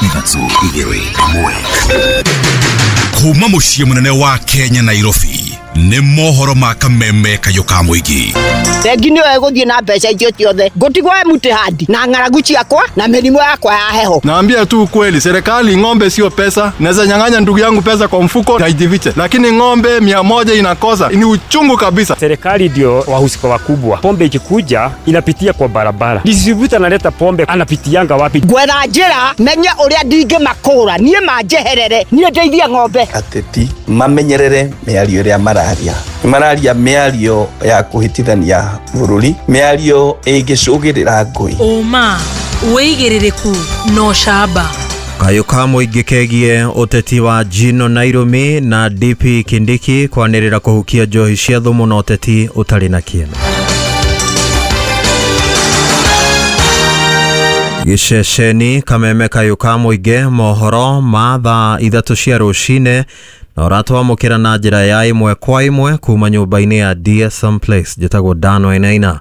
3 2 1. Kuma mũciĩ mũnene wa Kenya Nairobi nĩ mohoro ma kameme kayũ ka mũingĩ. Bengi nĩyo ĩgũthiĩ na mbeca icio ciothe, ngũtigwo empty hand na ng'aragu ciakwa na mĩrimũ yakwa ya heho. Naambia tu ukweli, serikali ng'ombe sio pesa. Naweza nyang'anya ndugu yangu pesa kwa mfuko na ijifiche, lakini ng'ombe 100 inakosa, ni uchungu kabisa. Serikali ndio wahusika wakubwa. Pombe ikikuja inapitia kwa barabara, distributor analeta pombe anapitianga wapi? Gwetha njĩra menye ũrĩa ndingĩmakũra niĩ manjeherere, niĩ ndeithie ng'ombe. Ateti mamenyerere mĩario ĩrĩa mararia, mararia mĩario ya kũhĩtithania bũrũri, mĩario ĩngĩcũgĩrĩra ngũĩ. Ũma wĩigĩrĩrĩku no camba. Kayũ ka mũingĩ kegie ũteti wa Gino Nairobi na DP Kindiki kwanĩrĩra kũhukia njohi cia thumu na ũteti ũtarĩ na kĩene. Gĩceceni kameme kayũ ka mũingĩ mohoro ma thaa 3 cia rũcinĩ na ũratwamũkĩra na njĩra ya 1 kwa 1 kuma nyũmba-inĩ ya DSM Place. Njĩtagwo Dan Wainaina.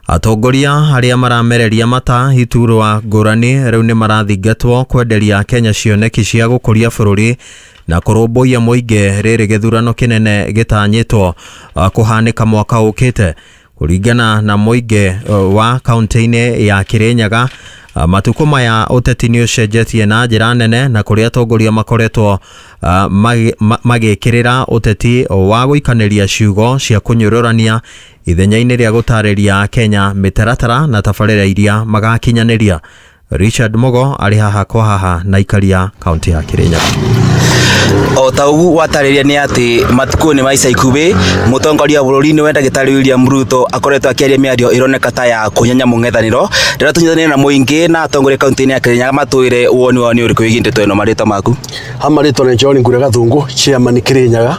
Atongoria arĩa maramereria mata iturwa ngũrani rĩu nĩ marathingatwo kwenderia Kenya cioneki cia gũkũria bũrũri na kũrũmbũiya mũingĩ rĩrĩ gĩthurano kĩnene gĩtanyĩtwo kũhanĩka mwaka ũkĩte. Kũringana na mũingĩ wa kaunti-inĩ ya Kirinyaga, matukũ maya ũteti nĩ ũcenjetie na njĩra nene na kũrĩa atongoria makoretwo magĩkĩrĩra ũteti wa gũikanĩria ciugo cia kũnyũrũrania ithenya-inĩ rĩa gũtarĩria Kenya mĩtaratara na tabarĩra iria magakinyanĩria. Richard Mugo arĩ haha kwa haha na ikaria kaunti ya Kirinyaga. O ta ũguo watarĩria nĩ atĩ matukũ-inĩ ma ica ikuhĩ mũtongoria wa bũrũri nĩwe ndagĩtarĩ William Ruto akoretwo akĩaria mĩario ĩroneka ta ya kũnyenya mũng'ethanĩro. Rĩrĩa tũnyitanĩire na mũingĩ na atongoria kaunti-inĩ ya Kirinyaga matwĩre woni wao nĩ ũrĩkũ wĩgiĩ ndeto ĩno. Marĩtwa maku? Ha marĩtwa nĩ John Ngure Gathungu, chairman Kirinyaga.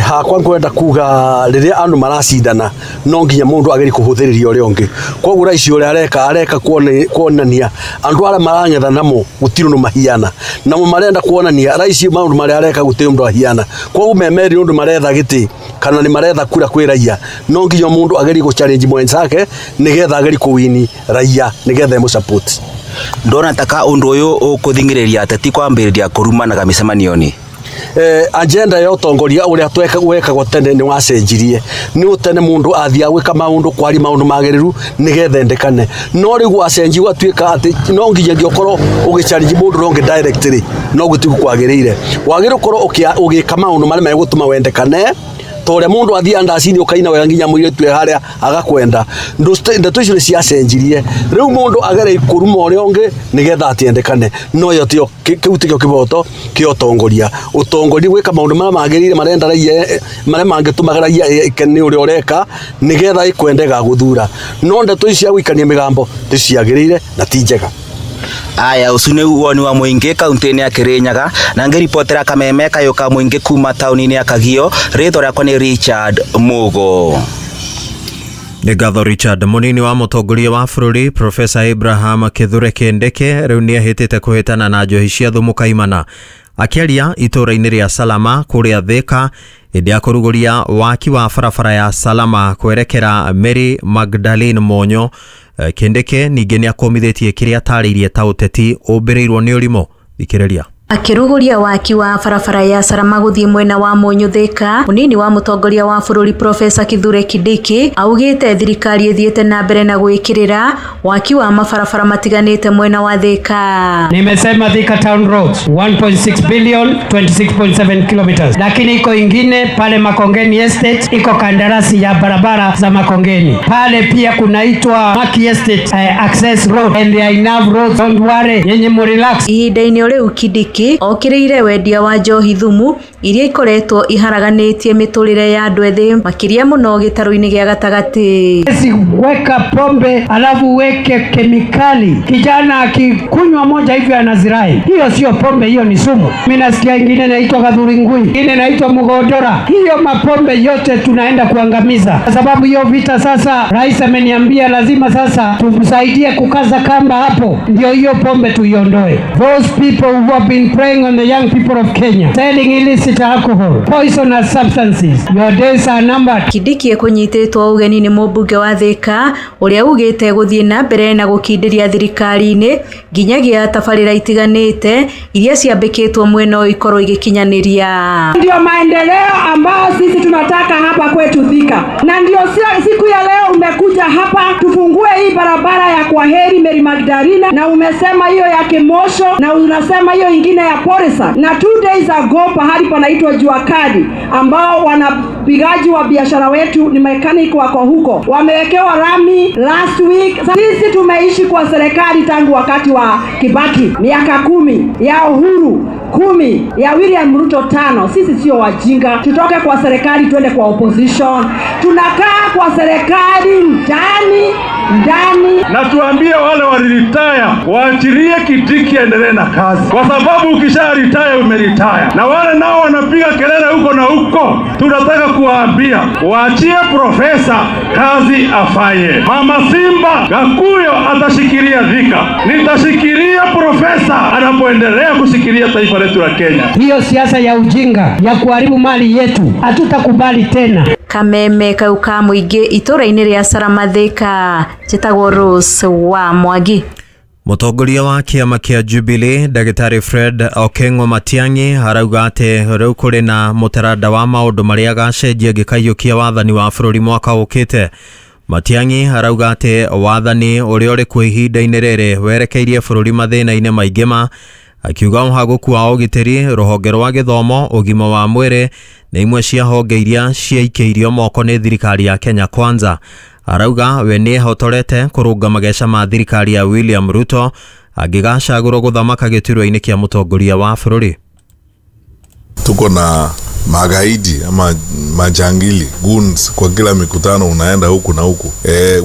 Hakwa ngwenda kuga rĩrĩa andũ maracindana no nginya mũndũ agerie kũhũthĩrĩria ũrĩa ũngĩ. Koguo raici ũrĩa areka kuonania andũ arĩa marang'etha namo gũtirĩ ũndũ mahiana, namo marenda kuonania raici maũndũ marĩa areka gũtirĩ ũndũ ahiana. Koguo memeri ũndũ maretha gĩtĩ kana nĩ maretha kura kwĩ raia, no nginya mũndũ agerie gũ challenge mwenzake nĩgetha agerie kũwini raia nĩgetha ĩmũ support. Ndona taka ũndũ ũyũ ũkũthing'ĩrĩria ateti kwambĩrĩria kũrumanaga mĩcemanio-inĩ. Agenda ya ũtongoria ũrĩa wekagwo tene nĩ wacenjirie. Nĩ tene mũndũ athiaga gwĩka maũndũ kwari maũndũ magĩrĩru nĩgetha endekane, no rĩu gwacenjia gwatuĩka atĩ no nginyagia ũkorwo ũgĩchallenge mũndũ ũrĩa ũngĩ directly, no gũtirĩ kwagĩrĩire. Wagĩrĩirwo ũkorwo ũgĩka maũndũ marĩa megũtũma wendekane, ta ũrĩa mũndũ athiaga ndaci-inĩ ũkaina wega nginya mũirĩtu e harĩa agakwenda. Ndeto icio nĩ ciacenjirie, rĩu mũndũ agerie kũruma ũrĩa ũngĩ nĩgetha atiendekane, no ĩyo tiyo kĩu tikĩo kĩboto kĩa ũtongoria. Ũtongoria gwĩka maũndũ marĩa magĩrĩire marenda raia, marĩa mangĩtũmaga raia ĩkene nĩ ũrĩa ũreka nĩgetha ĩkwende gagũthura, no ndeto ici cia gũikania mĩgambo ti ciagĩrĩire na ti njega. Aya, ũcio nĩ woni wa mũingĩ kaunti-inĩ ya Kirinyaga na ngĩribotera kameme kayũ ka mũingĩ kuma taũni-inĩ ya Kagio. Rĩtwa rĩakwa nĩ Richard Mugo. Nĩ ngatho Richard. Mũnini wa mũtongoria wa bũrũri Professor Abraham Kithure Kindiki rĩu nĩ ahĩtĩte kũhĩtana na njohi cia thumu kaimana. Akĩaria itũũra-inĩ rĩa Salama kũrĩa Thika hĩndĩ ya kũrugũria waki wa barabara ya Salama kwerekera Mary Magdalene Monyo, Kindiki ningĩ nĩ akũmithĩtie kĩrĩa atarĩirie ta ũteti ũmbĩrĩirwo nĩ ũrimũ. Thikĩrĩria. Akĩrugũria waki wa barabara ya Salama gũthiĩ mwena wa Mũnyũ Thika, mũnini wa mũtongoria wa bũrũri Professor Kithure Kindiki augĩte thirikari ĩthiĩte na mbere na gwĩkĩrĩra waki wa mabarabara matiganĩte mwena wa Thika. Nimesema Thika Town Roads 1.6 billion 26.7 kilometers, lakini iko ingine pale Makongeni Estate, iko kandarasi ya barabara za Makongeni pale, pia kunaitwa Maki Estate Access Road and there are enough roads, don't worry, nyinyi mu relax. Ihinda-inĩ rĩu Kindiki okĩrĩire wendia wa njohi thumu iria ikoretwo iharaganĩtie mĩtũrĩre ya andũ ethĩ makĩria mũno gĩtarũ-inĩ gĩa gatagatĩ. Weka pombe alafu uweke kemikali, kijana akikunywa moja hivyo anazirai. Hiyo sio pombe, hiyo ni sumu. Mimi nasikia ingine inaitwa kadhuringui, ingine inaitwa mugodora. Hiyo mapombe yote tunaenda kuangamiza, kwa sababu hiyo vita sasa. Rais ameniambia lazima sasa tumsaidie kukaza kamba hapo, ndio hiyo pombe tuiondoe. Those people who have been preying on the young people of Kenya, selling illicit Illicit alcohol, poisonous substances. Your days are numbered. Kindiki ekunyitĩtwo ũgeni nĩ mũmbunge wa Thika ũrĩa ugĩte gũthiĩ na mbere na gũkindĩria thirikari-inĩ nginyagia tabarĩra itiganĩte iria ciambĩkĩtwo mwena ũyũ ikorwo igĩkinyanĩria. Ndio maendeleo ambayo sisi tunataka hapa kwetu Thika, na ndio siku ya leo umekuja hapa tufungue hii barabara ya Kwaheri Mary Magdalena, na umesema hiyo ya Kimosho na unasema hiyo ingine ya Porisa, na 2 days ago pahali panaitwa Jua Kali ambao wanapigaji wa biashara wetu ni mechanic wako huko wamewekewa rami last week. Sisi tumeishi kwa serikali tangu wakati wa Kibaki, miaka 10 ya Uhuru 10 ya William Ruto 5. Sisi sio wajinga, tutoke kwa serikali tuende kwa opposition. Tunakaa kwa serikali ndani ndani. Na tuambie wale waliritaya waachilie Kindiki aendelee na kazi, kwa sababu ukisha retire umeretire. Na wale nao wanapiga kelele huko na huko, tunataka kuwaambia waachie profesa kazi afanye. Mama Simba Gakuyo atashikilia Thika, nitashikilia profesa anapoendelea kushikilia taifa letu la Kenya. Hiyo siasa ya ujinga ya kuharibu mali yetu hatutakubali tena. Kameme kau ka mũingĩ itũra-inĩ rĩa Salama Thika, njĩtagwo Rose wa Mwangi. Mũtongoria wa kĩama kĩa Jubilee Ndagĩtarĩ Fred Okengo Matiang'i arauga atĩ rĩu kũrĩ na mũtaranda wa maũndũ marĩa agacenjia angĩkaiyũkia wathani wa bũrũri mwaka ũkĩte. Matiang'i arauga atĩ wathani ũrĩa ũrĩ kuo ihinda-inĩ rĩrĩ werekeirie bũrũri mathĩna-inĩ maingĩ ma, akiuga ũhagũku wa ũgitĩri, rũhonge rwa gĩthomo, ũgima wa mwĩrĩ nĩ imwe cia honge iria ciaikĩirio moko nĩ thirikari ya Kenya Kwanza. Arauga we nĩ ehotorete kũrũnga mageca ma thirikari ya William Ruto angĩgacagũrwo gũthamaka gĩturwa-inĩ kĩa mũtongoria wa bũrũri. Tuko na magaidi ama majangili goons kwa kila mikutano, unaenda huku na huku.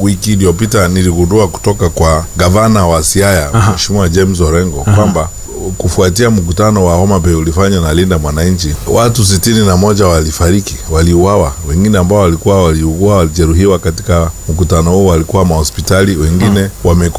Wiki iliyopita niligundua kutoka kwa gavana wa Siaya Mheshimiwa James Orengo kwamba kufuatia mkutano wa Homa Bay ulifanywa na Linda Mwananchi, watu 61 walifariki, waliuawa. Wengine ambao walikuwa waliugua, walijeruhiwa katika mkutano huo walikuwa mahospitali, wengine wamekufa.